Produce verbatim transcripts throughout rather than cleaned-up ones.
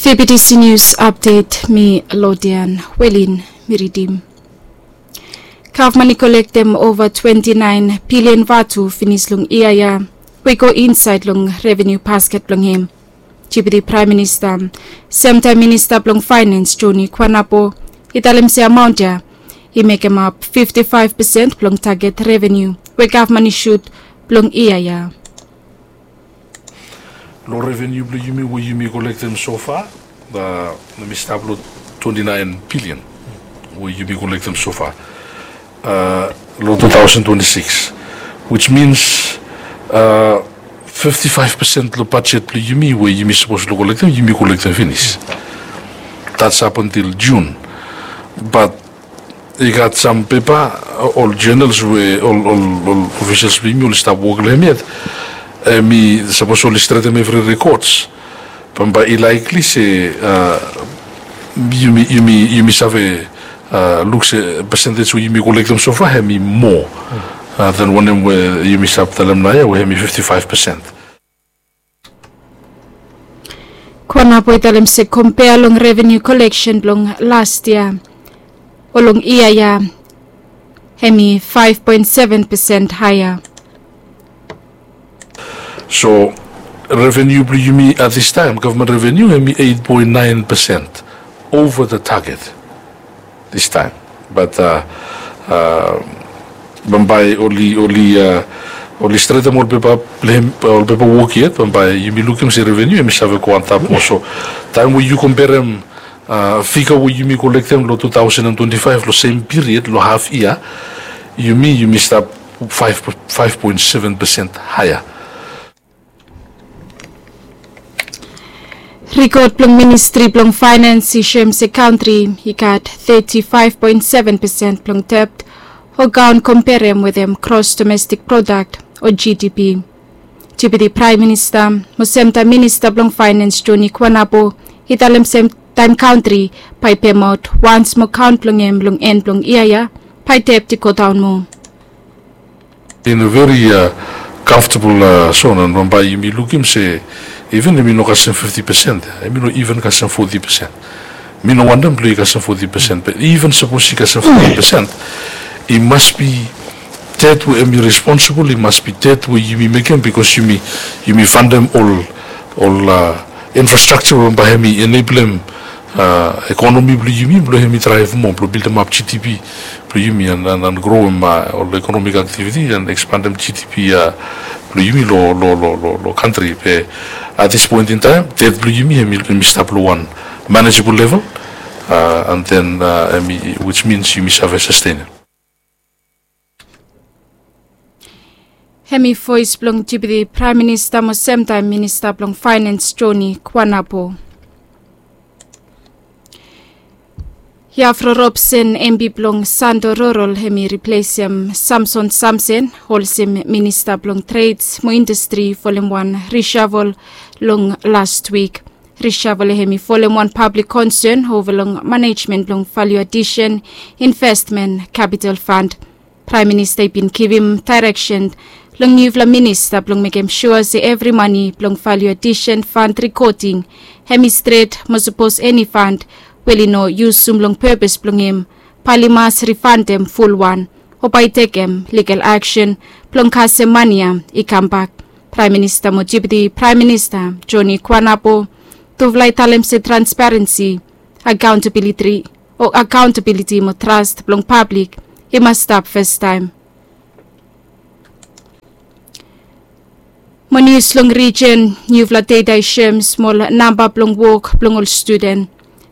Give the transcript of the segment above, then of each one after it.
Fibidisi nius apdet, mi Lodian Welin mi ridim. Gavman i kolektem ova twenti naen bilian vatu finis long yia ya we i go insaed long reveniu basket blong hem. Deputi Praem Minista, semtaem Minista blong Faenans Joni Kwanapo, i talem se amaon ya i mekemap fifti faef pesen blong taget reveniu we gavman i sut blong yia ya. Long reveniu blong yumi we yumi kolektem sofa, mi stap long twenti naen bilian we yumi kolektem sofa long tu taosen twenti sikis, wis mins fifti faef pesen long bajet blong yumi we yumi sapos long kolektem, yumi kolektem finis. Dats ap antil Jun. Bat i gat sam pepa, ol journals we ol ol ol ofisels blong yumi oli stap wok long hem yet, em i sapos oli stretem evri rekods, bambae i laekli se yumi yumi yumi save luk se pesentej we yumi kolektem sofa hem i moa dan wanem we yumi stap talem naoia we hem i fifti faef pesen. Kwanapo i talem se kompea long reveniu koleksen blong las yia o long yia ya, hem i faef poen seven pesen haea. So reveniu blong yumi at this time, gavman reveniu hem i eit poen naen pesen ova the target this time. Bat bambae oli oli oli stretem ol pepa blong hem, ol pepa wok yet, bambae yumi lukim se reveniu hem i save go antap moa. So taem we yu komperem figa we yumi kolektem long tu taosen an twenti faef long sem piriod long haf yia, yumi yumi stap faef poen seven pesen haea. Rikod blong Ministri blong Faenans i soem se kantri i gat teti faef poen seven pesen blong debt o kaon komperem wetem gros domestik prodak o GDP. Deputi Praem Minista mo semtaem Minista blong Faenans Joni Kwanapo i talem se taem kantri bae i pemaot wans mo kaon blong hem long en blong yia ya, bae debt i godaon moa. In a very comfortable zone, an bambae yumi lukim se even hem i no kasem fifti pesen, hem i no even kasem foti pesen. Mi no wantem blong i kasem foti pesen, be even sapos i kasem foti pesen, i mas bi debt we hem i responsibol, i mas bi debt we yumi mekem bikos yumi yumi fantem ol ol infrastraksa we bambae hem i eneblem ekonomi blong yumi blong hem i draev moa blong bildemap GDP blong yumi an an groem ol ekonomik aktiviti an ekspandem GDP blong yumi long long long long kantri. Be at this point in time debt blong yumi hem i stap long wan manageable level, an then hem i which means yumi save sustenem. Hem i voes blong Deputi Praem Minista mo semtaem Minista blong Faenans Joni Kwanapo. Yafro Robson, MP blong Santo Rural, hem i riplesem Samson Samson olsem Minista blong Trades mo Indastri folem wan rishavel long las wik. Rishavel hem i folem wan pablik konsen ova long manejmen blong value addition investment capital fund. Praem Minista i bin givim daereksen long niufala minista blong mekem sua se evri mane blong value addition fund rikoding hem i stret mo sapos eni fund we oli no yusum long pepes blong hem, bae oli mas rifandem fulwan o bae i tekem ligal aksen blong kasem mane ya i kambak. Praem Minista mo Deputi Praem Minista Joni Kwanapo tufala i talem se transparensi, akaontabiliti o akaontabiliti mo tras blong pablik i mas stap fastaem. Mo nius long rijen, niufala data i soem smol namba blong wok blong ol studen.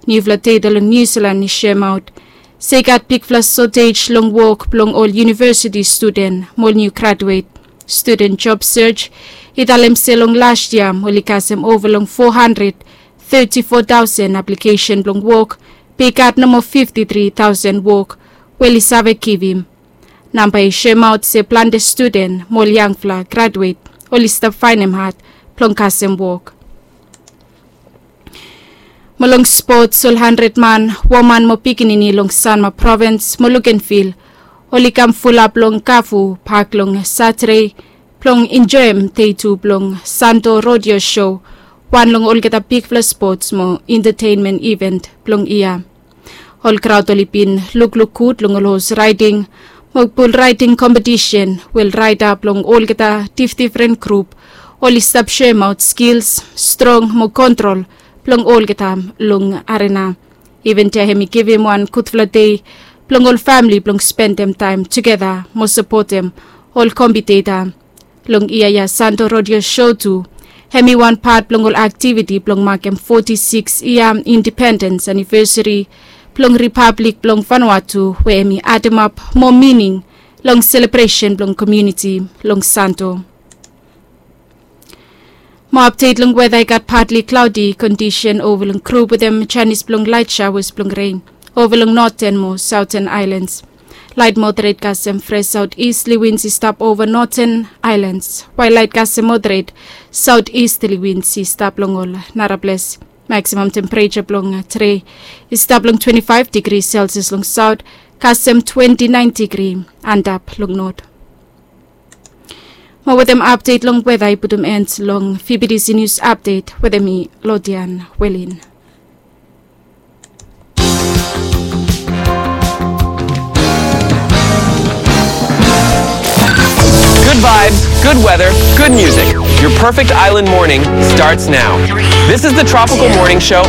Niufala data long Niu Silan i soemaot se i gat bigfala sotej long wok blong ol iunivesiti studen mo ol niu graduet. Studen job sej i talem se long las yia oli kasem ova long fo handred teti fo taosen aplikesen blong wok, be i gat nomo fifti tri taosen wok we oli save givim. Namba i soemaot se plante studen mo ol yangfala graduet oli stap faenem had blong kasem wok. Mo long spots, ol handred man, woman mo pikinini long Sanma provins mo Lukenvil oli kam fulap long Kafu pak long Satade blong enjoem dei tu blong Santo Rodeo Show wan long olgeta bigfala spots mo entetenmen iven blong yia. Ol kraod oli bin lukluk gud long ol hos raeding mo bul raeding kompetisen we ol raeda blong olgeta difdifren grup oli stap soemaot skils, strong mo kontrol blong olgeta long arena. Iven dia hem i givim wan gudfala dei blong ol famle blong spendem taem tugeta mo sapotem ol kompiteta. Long yia ya Santo Rodeo Show tu hem i wan pat blong ol aktiviti blong makem foti sikis yia indipendens anivesari blong Ripablik blong Vanuatu we hem i ademap moa mining long selebresen blong komuniti long Santo. Mo apdet long weda i gat patli klaodi kondisen ova long grup wetem janis blong laet saoas blong ren ova long noten mo saoten aelans. Laet moderet kasem fres saotistaly wins i stap ova noten aelans wael laet kasem moderet saotistaly wins i stap long ol naraples. Maksimam tempereja blong tede i stap long twenti faef digri selsias long saot kasem twenti naen digri antap long not. Mo wetem apdet long weda i putum en long fibidisi nius apdet wetem mi lodian welin. Good vibes, good weather, good music. Your perfect island morning starts now. This is the Tropical Morning Show.